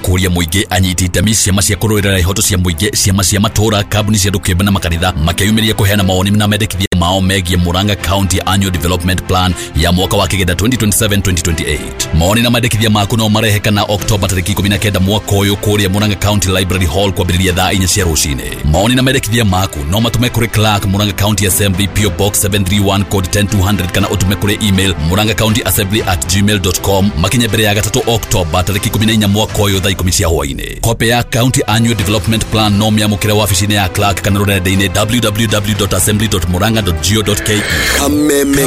kũria mũingĩ, anyiti itemi, ciama cia kũrũĩrĩra ihoto cia mũingĩ, ciama cia matũũra, kambuni cia andũ kĩũmbe na makanitha makeyumĩria kũheana mawoni na mendekithia mao megiĩ Murang'a County Annual Development Plan ya mwaka wa kĩgenda 2027-2028. Mawoni na mendekithia maku no marehe kana Oktoba tarĩki 19 mwaka ũyũ kũrĩa Murang'a County Library Hall kwambĩrĩria thaa 4 cia rũcinĩ. Mawoni na mendekithia maku no matũme kũrĩ Clerk, Murang'a County Assembly, PO Box 731, code 10200, kana ũtũme kũrĩ email murang'acounty.assembly@gmail.com makinye mbere ya gatatũ Oktoba tarĩki 14 mwaka ũyũ thaa 10 cia hwaĩ-inĩ. Kopĩ ya County Annual Development Plan no mĩamũkĩre wabici-inĩ ya Clerk kana rũrenda-inĩ www.assembly.murang'a.go.ke. Kameme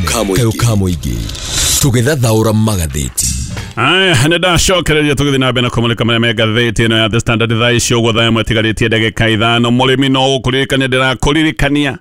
kayo ka mũingĩ tũgĩthathaũra magathĩti. Aya, nĩ ndacokereria tũgĩthiĩ na mbere na kũmũrĩka marĩa me ngathĩti ĩno ya The Standard thaa ici ũguo thaa ĩmwe ĩtigarĩtie ndagĩka 5. Mũrĩmi no gũkũririkania, ndĩrakũririkania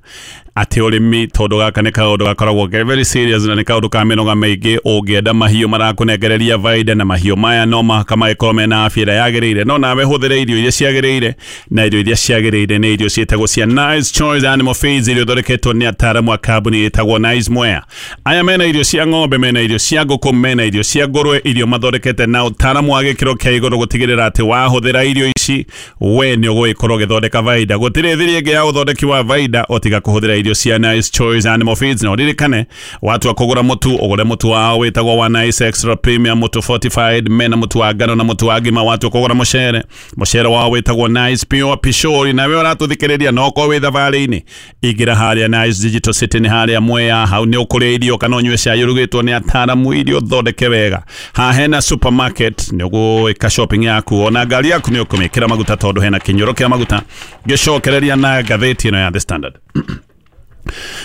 atĩ ũrĩmi, tondũ gaka nĩ kaũndũ gakoragwo ke very serious na nĩ kaũndũ ka mĩnoga mĩingĩ. Ũngĩenda mahiũ marakũnengereria baida, na mahiũ maya no mũhaka magĩkorwo mena afya ĩrĩa yagĩrĩire, no nawe hũthĩre irio iria ciagĩrĩire, na irio iria ciagĩrĩire nĩ irio ciĩtagwo cia Nice Choice Animal Feeds, irio ithondeketwo nĩ ataaramu a kambuni ĩtagwo Nice Mwea. Aya mena irio cia ng'ombe, mena irio cia ngũkũ, mena irio cia ngũrwe, irio mathondekete na ũtaaramu wa gĩkĩro kĩa igũrũ gũtigĩrĩra atĩ wahũthĩra irio ici we nĩ ũgũgĩkorwo ũgĩthondeka baida. Gũtirĩ thiri ĩngĩ ya ũthondeki wa baida o tiga kũhũthĩra irio cia Nice Choice Animal Feeds. Na ũririkane watua kũgũra mũtu, ũgũre mũtu wao wĩtagwo wa Nice Extra Premium, mũtu fortified, mena mũtu wa ngano na mũtu wa ngima. Watua kũgũra mũcere, mũcere wao wĩtagwo Nice Pure Pishori. Nawe ũratũthikĩrĩria no ũkorwo wĩ thabarĩ-inĩ, ingĩra harĩa Nice Digital City, nĩ harĩa Mwea, hau nĩ ũkũrĩa irio kana ũnyue cai ũrugĩtwo nĩ ataaramu, irio thondeke wega. Haha hena supermarket, nĩ ũgwĩka shopping yaku, ona ngari yaku nĩ ũkũmĩkĩra maguta tondũ hena kĩnyũro kĩa maguta. Ngĩcokereria na ngathĩti ĩno ya The Standard.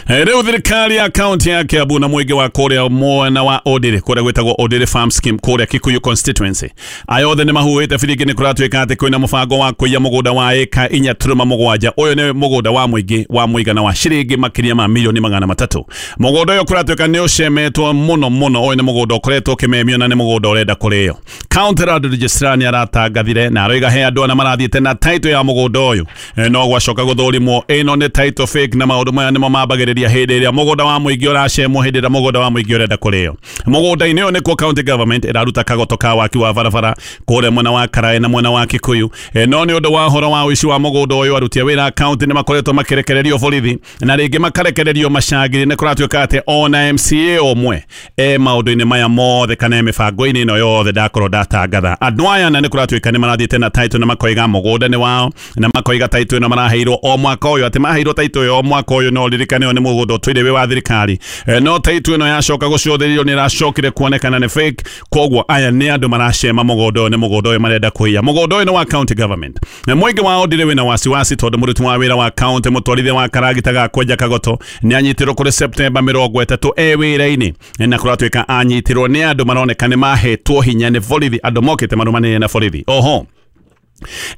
Rĩu thirikari ya kaunti ya Kiambu na mũingĩ wa kũrĩa mwena wa Ondiri, kũrĩa gwĩtagwo Ondiri Farm Scheme kũrĩa Kikuyu constituency, aya othe nĩ mahuhĩte biringi. Nĩ kũratuĩka atĩ kwĩna mũbango wa kũiya mũgũnda wa ĩka 4.7. Ũyũ nĩ mũgũnda wa mũingĩ wa mũigana wa ciringi makĩria ma milioni 300. Mũgũnda ũyũ kũratuĩka nĩ ũcemetwo mũno mũno. Ũyũ nĩ mũgũnda ũkoretwo ũkĩmemio na nĩ mũgũnda ũrenda kũrĩo. County Land Registrar nĩ aratangathire na aroiga he andũ ana marathiĩte na title ya mũgũnda ũyũ, no gwacoka gũthũrimwo ĩno nĩ title fake, na maũndũ maya nĩmo mambagĩrĩria hĩndĩ ĩrĩa mũgũnda wa mũingĩ ũracemwo, hĩndĩ ĩrĩa mũgũnda wa mũingĩ ũrenda kũrĩo. Mũgũnda-inĩ ũyũ nĩkuo county government ĩraruta kagoto ka waki wa barabara kũrĩa mwena wa Karaĩ na mwena wa Kikuyu. No nĩ ũndũ wa ũhoro wa ũici wa mũgũnda ũyũ, aruti a wĩra a county nĩ makoretwo makĩrekererio borithi na rĩngĩ makarekererio macangiri. Nĩ kũratuĩka atĩ ona MCA ũmwe e maũndũ-inĩ maya mothe kana e mĩbango-inĩ ĩno yothe ndakorwo ndatangatha. Andũ aya na nĩ kũratuĩka nĩ marathiĩte na title na makoiga mũgũnda nĩ wao, na makoiga title ĩno maraheirwo o mwaka ũyũ, atĩ maheirwo title ĩyo o mwaka ũyũ. No ririkane ũyũ nĩ mũgũnda ũtũire wĩ wa thirikari, no title ĩno yacoka gũcũthĩrĩrio nĩ ĩracokire kuonekana nĩ fake. Koguo aya nĩ andũ maracema mũgũnda ũyũ, nĩ mũgũnda ũyũ marenda kũiya. Mũgũnda ũyũ nĩ wa county government na mũingĩ wao ndire wĩna wasiwasi tondũ mũruti wa wĩra wa county, mũtwarithia wa karagita ga kwenja kagoto, nĩ anyitirwo kũrĩ September 30 e wĩra-inĩ, na kũratuĩka anyitirwo nĩ andũ maroneka nĩ mahetwo hinya nĩ borithi, andũ mokĩte marũmanĩrĩire na borithi. Oho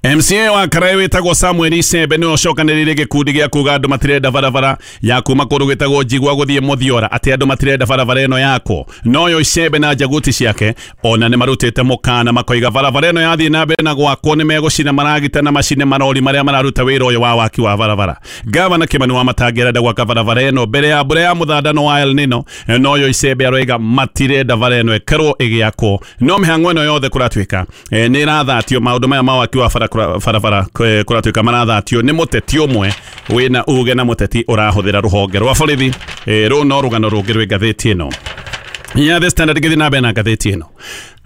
MCA wa Karaĩ wĩtagwo Samuel Icembe nĩwe ũcokanĩrĩire gĩkundi gĩa kuga andũ matirenda barabara ya kuma kũndũ gwĩtagwo Njigua gũthiĩ Mũthiora, atĩ andũ matirenda barabara ĩno yakwo. Noyo Icembe na njaguti ciake ona nĩ marutĩte mũkana makoiga barabara ĩno yathiĩ na mbere na gwakwo nĩ megũcina maragita na macine marori marĩa mararuta wĩra ũyũ wa waki wa barabara. Gavana Kimani Wamatangi arenda gwaka barabara ĩno mbere ya mbura ya mũthandano wa El Nino, noyo Icembe aroiga matirenda bara ĩno ĩkorwo ĩgĩakwo. No mĩhang'o ĩno yothe kũratuĩka nĩ ĩrathatio, maũndũ maya ma waki wa barabara kũratuĩka marathatio nĩ mũteti ũmwe wĩna uge na mũteti ũrahũthĩra rũhonge rwa borithi. Rũu no rũgano rũngĩ rwĩ ngathĩti ĩno ya The Standard. Gĩthiĩ na mbere na ngathĩti ĩno.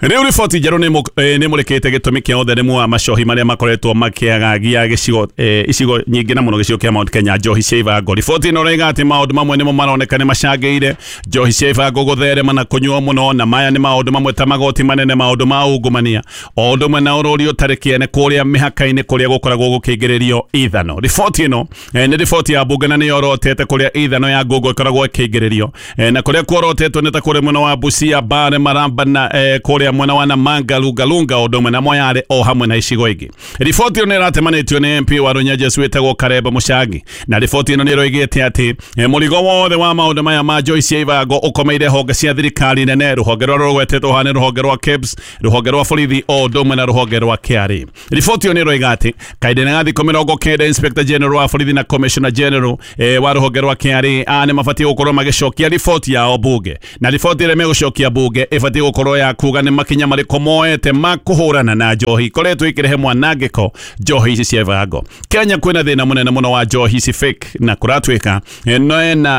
Rĩu riboti njerũ nĩ mũrĩkĩte gĩtũmi kĩa ũtheremu wa macohi marĩa makoretwo makĩagagia gĩcigo, icigo nyingĩ na mũno gĩcigo kĩa Mount Kenya, njohi cia ibango. Riboti ĩno ĩroiga atĩ maũndũ mamwe nĩmo maroneka nĩ macangĩire njohi cia ibango gũtherema na kũnyuo mũno, na maya nĩ maũndũ mamwe ta magoti manene, maũndũ ma ungumania, o ũndũ ũmwe na ũrũri ũtarĩ kĩene kũrĩa mĩhaka-inĩ kũrĩa gũkoragwo gũkĩingĩrĩrio ithano. Riboti ĩno nĩ riboti ya mbunge na nĩ yorotete kũrĩa ithano ya ngungo ĩkoragwo ĩkĩingĩrĩrio, na kũrĩa kuorotetwo nĩ ta kũrĩa mwena wa Busia, Mbale, Maramba na kũrĩa mwena wa Namanga, Lungalunga, ũndũ ũmwe na Moyale o hamwe na icigo ingĩ. Riboti ĩno nĩ ĩratemanĩtio nĩ MP wa Runyenjes wĩtagwo Karemba Mũcangi, na riboti ĩno nĩ ĩroigĩte atĩ mũrigo wothe wa maũndũ maya ma njohi cia ibango ũkomeire honge cia thirikari nene. Rũhonge rũrĩa rũgwetetwo haha nĩ rũhonge rwa KEBS, rũhonge rwa borithi, o ũndũ ũmwe na rũhonge rwa KRA. Riboti ĩyo nĩ ĩroiga atĩ kahinda-inĩ ga thikũ 90 Inspector General wa borithi na Commissioner General wa rũhonge rwa KRA nĩ mabatiĩ gũkorwo magĩcokia riboti yao bunge, na riboti ĩrĩa megũcokia bunge ĩbatiĩ gũkorwo ya kuga nĩ makinya marĩkũ moete ma kũhũrana na njohi ikoretwo ikĩrehe mwanangĩko njohi ici cia bango. Kenya kwĩna thĩna mũnene mũno wa njohi ici fake na kũratuĩka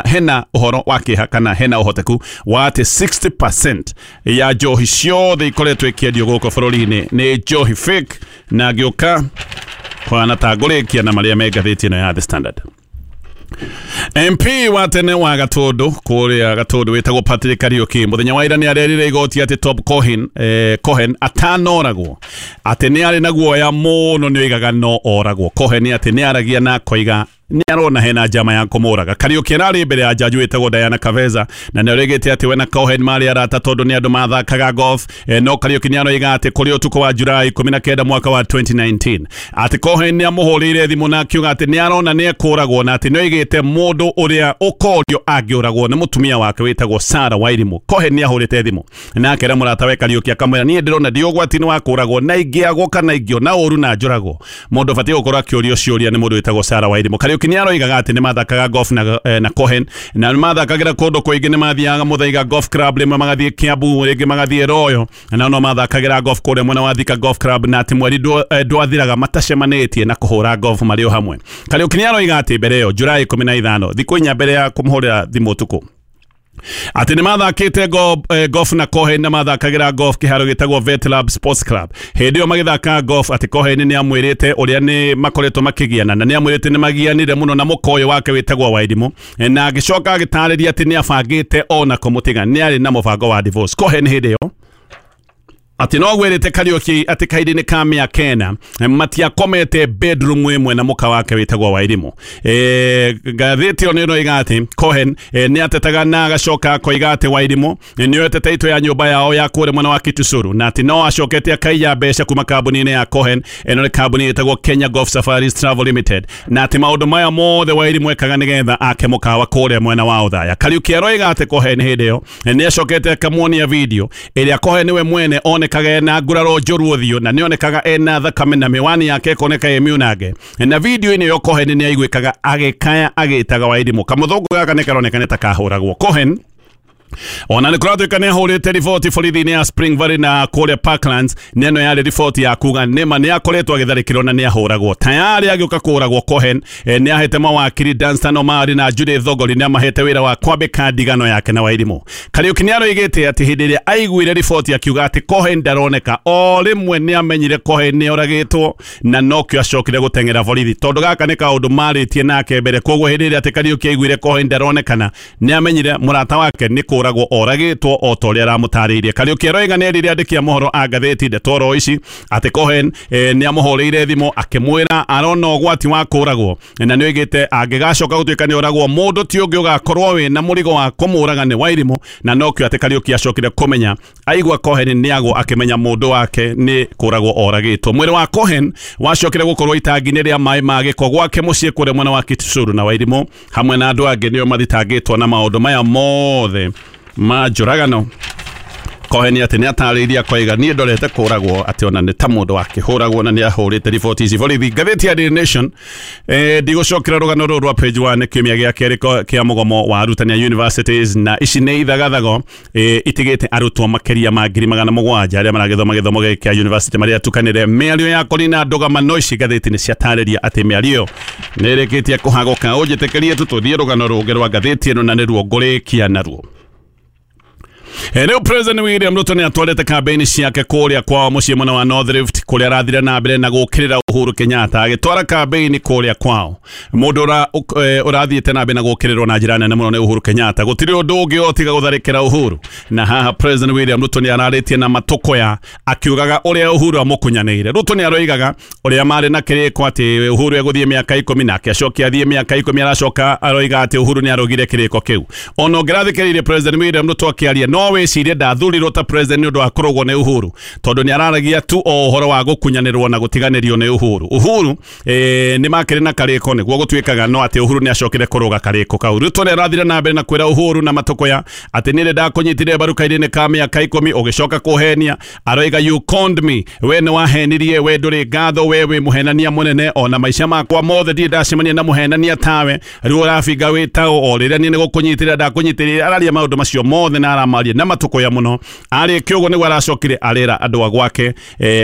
hena ũhoro wa kĩeha kana hena ũhoteku wa atĩ 60% ya njohi ciothe ikoretwo ikĩendio gũkũ bũrũri-inĩ nĩ njohi fake, na ngĩũka kwana tangũrĩkia na marĩa me ngathĩti ĩno ya The Standard. MP wa tene wa Gatundu kũrĩa Gatundu wĩtagwo Patrick Kariuki mũthenya wa ira nĩ arerire igoti atĩ Top Cohen, Cohen atanoragwo atĩ nĩ arĩ na guoya mũno nĩ oigaga no oragwo. Cohen atĩ nĩ aragia na akoiga nĩ arona hena njama ya kũmũraga. Kariuki ararĩ mbere ya jaji wĩtagwo Diana Kaveza na nĩ oigĩte atĩ we na Cohen marĩ arata tondũ nĩ andũ mathakaga golf. No Kariuki nĩ aroiga atĩ kũrĩ ũtukũ wa Julai 19 mwaka wa 2019 atĩ Cohen nĩ amũhũrĩire thimũ na akiuga atĩ nĩ arona nĩ ekũragwo na atĩ nĩ oigĩte mũndũ ũrĩa ũkorio angĩũragwo nĩ mũtumia wake wĩtagwo Sarah Wairimu. Cohen nĩ ahũrĩte thimũ na akera mũrata we Kariuki akamwĩra niĩ ndĩrona ndĩ ũgwati-inĩ wa kũragwo na ingĩagwo kana ingĩona ũru na njũragwo mũndũ ũbatiĩ gũkorwo akĩũrio ciũria nĩ mũndũ wĩtagwo Sarah Wairimu. Kariuki nĩ aroigaga atĩ nĩ mathakaga golf na Cohen na nĩ mathakagĩra kũndũ kũingĩ, nĩ mathiaga Muthaiga Golf Club, rĩmwe magathiĩ Kiambu, rĩngĩ magathiĩ Royal, na no mathakagĩra golf kũrĩa mwena wa Thika Golf Club, na atĩ mweri ndwathiraga matacemanĩtie na kũhũra golf marĩ o hamwe. Kariuki nĩ aroiga atĩ mbere ĩyo Julai 15 thikũ inya mbere ya kũmũhũrĩra thimũ ũtukũ atĩ nĩ mathakĩte golf na Cohen na mathakagĩra golf kĩharo gĩtagwo Vet Lab Sports Club. Hĩndĩ ĩyo magĩthaka golf atĩ Cohen nĩ amwĩrĩte ũrĩa nĩ makoretwo makĩgiana na nĩ amwĩrĩte nĩ magianire mũno na mũka ũyũ wake wĩtagwo Wairimu, na agĩcoka agĩtarĩria atĩ nĩ abangĩte ona kũmũtiga, nĩ arĩ na mũbango wa divorce. Cohen hĩndĩ ĩyo atĩ no gwĩrĩte Kariuki atĩ kahinda-inĩ ka mĩaka ĩna matiakomete bedroom ĩmwe na mũka wake wĩtagwo Wairimu. Ngathĩti ĩyo nĩ ĩroiga atĩ Cohen nĩ atetaga na agacoka akoiga atĩ Wairimu nĩ oete taito ya nyũmba yao ya kũrĩa mwena wa Kitusuru na atĩ no acokete akaiya mbeca kuma kambuni-inĩ ya Cohen, ĩno nĩ kambuni ĩtagwo Kenya Golf Safaris Travel Limited, na atĩ maũndũ maya mothe Wairimu ekaga nĩgetha ake mũkawa kũrĩa mwena wa Othaya. Kariuki aroiga atĩ Cohen hĩndĩ ĩyo nĩ acokete akamuonia video ĩrĩa Cohen nĩwe mwene onekaga ena nguraro njũru ũthiũ na nĩonekaga ena thakame na mĩwani yake ĩkoneka ĩ miunange, na video-inĩ ĩyo Cohen nĩ aiguĩkaga agĩkaya agĩtaga Wairimu. Kamũthũngũ gaka nĩ karoneka nĩ ta kahũragwo. Cohen ona nĩ kũratuĩka nĩ ahũrĩte riboti borithi-inĩ ya Spring Valley na kũrĩa Parklands, na ĩno yarĩ riboti ya kuga nĩma nĩ akoretwo agĩtharĩkĩrwo na nĩ ahũragwo. Tayari agĩũka kũũragwo Cohen nĩ ahete mawakiri Danstan Omari na Judith Thogori nĩ amahete wĩra wa kwambĩka ndigano yake na Wairimu. Kariuki nĩ aroigĩte atĩ hĩndĩ ĩrĩa aiguire riboti akiuga atĩ Cohen ndaroneka, o rĩmwe nĩ amenyire Cohen nĩ oragĩtwo na nokĩo acokire gũteng'era borithi tondũ gaka nĩ kaũndũ marĩtie nake mbere. Koguo hĩndĩ ĩrĩa atĩ Kariuki aiguire Cohen ndaronekana nĩ amenyire mũrata wake nĩ kũragwo oragĩtwo o ta ũrĩa aramũtarĩirie. Kariuki aroiga nĩ erire andĩki a mohoro a ngathĩti ndeto ici atĩ Cohen nĩ amũhũrĩire thimũ akĩmwĩra arona ũgwati wa kũragwo na nĩ oigĩte angĩgacoka gũtuĩka nĩ oragwo mũndũ ti ũngĩ ũgakorwo wĩna mũrigo wa kũmũraga nĩ Wairimu, na nokĩo atĩ Kariuki acokire kũmenya aigua Cohen nĩ agwo akĩmenya mũndũ wake nĩ kũragwo oragĩtwo. Mwĩrĩ wa Cohen wacokire gũkorwo itangi-inĩ rĩa maĩ ma gĩko gwake mũciĩ kũrĩa mwena wa Kitusuru, na Wairimu hamwe na andũ angĩ nĩo mathitangĩtwo na maũndũ maya mothe ma njũragano. Cohen atĩ nĩ atarĩirie akoiga niĩ ndorete kũragwo atĩ ona nĩ ta mũndũ akĩhũragwo na nĩ ahũrĩte riboti ici borithi. Ngathĩti ya Daily Nation ndigũcokera rũgano rũrũ rwa page 1 kiumia gĩa kerĩ kĩa mũgomo wa arutani a universities, na ici nĩ ithagathago itigĩte arutwo makĩria ma 700,000 arĩa maragĩthoma gĩthomo gĩkĩ kĩa university marĩa atukanĩre. Mĩario ya Corina Ndũgama no ici ngathĩti nĩ ciatarĩria atĩ mĩario ĩyo nĩ ĩrĩkĩtie kũhagũka. Ũnjĩtĩkĩrie tu tũthiĩ rũgano rũngĩ rwa ngathĩti ĩno na nĩruo ngũrĩkia naruo. Rĩu President William Ruto nĩ atwarĩte kambĩini ciake kũrĩa kwao mũciĩ mwena wa North Rift kũrĩa arathire na mbere na gũkĩrĩra Uhuru Kenyatta agĩtwara kambĩini kũrĩa kwao. Mũndũ ũrathiĩte na mbere na gũkĩrĩrwo na njĩra nene mũno nĩ Uhuru Kenyatta, gũtirĩ ũndũ ũngĩ otiga gũtharĩkĩra Uhuru. Na haha President William Ruto nĩ ararĩtie na matũkũya akiugaga ũrĩa Uhuru amũkunyanĩire. Ruto nĩ aroigaga ũrĩa marĩ na kĩrĩko atĩ Uhuru egũthiĩ mĩaka 10 nake acoke athiĩ mĩaka 10 aracoka aroiga atĩ Uhuru nĩ arũgire kĩrĩko kĩu. Ona ũngĩrathikĩrĩirie President William Ruto akĩaria no wĩcirie ndathurirwo ta president nĩ ũndũ wa kũrũgwo nĩ Uhuru tondũ nĩ araragia tu o ũhoro wa gũkunyanĩrwo na gũtiganĩrio nĩ Uhuru nĩ makĩrĩ na karĩko nĩguo gũtuĩkaga no atĩ Uhuru nĩ acokire kũrũga karĩko kau. Ruto nĩ arathire na mbere na kwĩra Uhuru na Matukuya atĩ nĩ ndakũnyitire mbaru kairĩ-inĩ ka mĩaka 10 ũgĩcoka kũhenia. Aroiga you conned me, we nĩ wahenirie, we ndũrĩ ngatho, we wĩ mũhenania mũnene, ona maica makwa mothe ndirĩ ndacemania na mũhenania tawe, rĩu ũrabinga wĩ tao o rĩrĩa niĩ nĩ gũkũnyitĩrĩra ndakũnyitĩrĩra. Araria maũndũ macio mothe na aramaria na Matukuya mũno. Arĩkia ũguo nĩguo aracokire arera andũ a gwake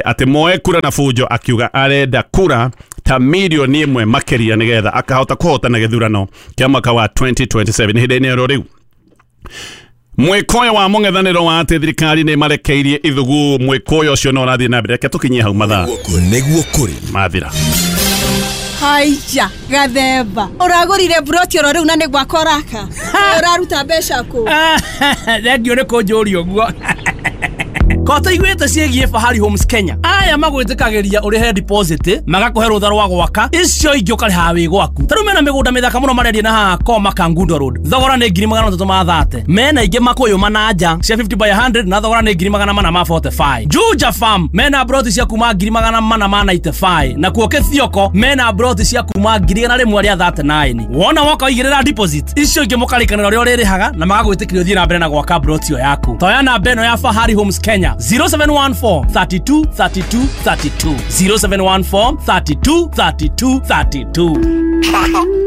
atĩ moe kura na bunjo, akiuga arenda kura ta milioni 1 makĩria nĩgetha akahota kũhotana gĩthurano kĩa mwaka wa 2027. Hĩndĩ-inĩ ĩyo rĩu mwĩkũyũ wa mũng'ethanĩro wa atĩ thirikari nĩ marekeirie ithugu, mwĩkũyũ ũcio no ũrathiĩ na mbere. Reke tũkinyie hau mathaa nĩguo kũrĩ mathira. Haija gathemba ũragũrire broti oro rĩu na nĩ gwakwa ũraka ũraruta mbeca kũ? Thengiũ nĩ kũnjũria ũguo. Ko taiguĩte ciĩgiĩ Fahari Homes Kenya? Aya magwĩtĩkagĩria ũrĩhe deposit magakũhe rũtha rwa gwaka, icio ingĩ ũkarĩha wĩ gwaku. Ta rĩu mena mĩgũnda mĩthaka mũno marendia na haha Koma Kangundo Road, thogora nĩ 330,000. Mena ingĩ Makũyũ Mananja cia 50 by 100 na thogora nĩ 445,000. Juja Farm mena broti cia kuma 495,000, na kuo Kĩthioko mena broti cia kuma 139,000. Wona woka ũigĩrĩra deposit, icio ingĩ mũkarĩkanĩra ũrĩa ũrĩrĩhaga na magagwĩtĩkĩria ũthiĩ na mbere na gwaka broti ĩyo yaku. Toya namba ĩno ya Fahari Homes Kenya 0714 32 32 32 0714 32 32 32.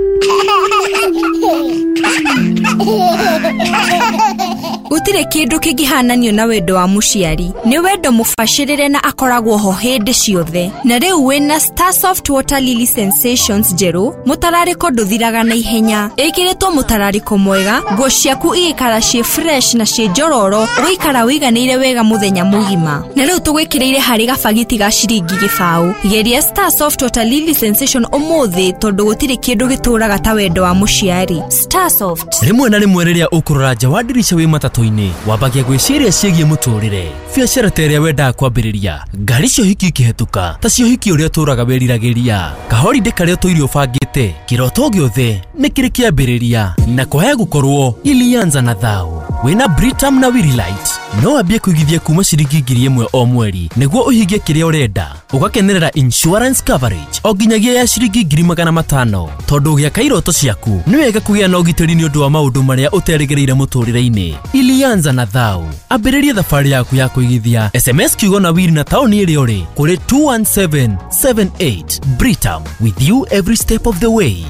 Gũtirĩ kĩndũ kĩngĩhananio na wendo wa mũciari. Nĩ wendo mũbacĩrĩre na akoragwo ho hĩndĩ ciothe. Na rĩu wĩna Starsoft Water Lily Sensations njerũ, mũtararĩko ndũthiraga na ihenya. Ĩkĩrĩtwo mũtararĩko mwega, nguo ciaku igĩikara ciĩ fresh na ciĩ njororo, ũgũikara wĩiganĩire wega mũthenya mũgima. Na rĩu tũgwĩkĩrĩire harĩ gabagiti ga ciringi 0. Geria Starsoft Water Lily Sensation ũmũthĩ tondũ gũtirĩ kĩndũ gĩtũraga ta wendo wa mũciari. Starsoft. Rĩmwe na rĩmwe rĩrĩa ũkũrora nja wa ndirica wĩ matatũ-inĩ, wambagia gwĩciria ciĩgiĩ mũtũrĩre, biacara ta ĩrĩa wendaga kwambĩrĩria, ngari cia ũhiki ikĩhetũka, ta cia ũhiki ũrĩa ũtũraga wĩriragĩria, kahorindĩ karĩa ũtũire ũbangĩte, kĩroto gĩothe nĩ kĩrĩ kĩambĩrĩria, na kwaya gũkorwo ilianza na thao. Wĩna Britam na Willight no wambie kũigithia kuma ciringi 1,000 o mweri nĩguo ũhingie kĩrĩa ũrenda, ũgakenerera insurance coverage o nginyagia ya ciringi 500,000. Tondũ ũgĩaka iroto ciaku nĩ wega kũgĩa na ũgitĩri nĩ ũndũ wa maũndũ marĩa ũterĩgĩrĩire mũtũrĩre-inĩ. Ilianza na thao, ambĩrĩria thabarĩ yaku ya kũigithia. SMS kiugo na wili na taũni ĩrĩa ũrĩ kũrĩ 21778. Britam, with you every step of the way.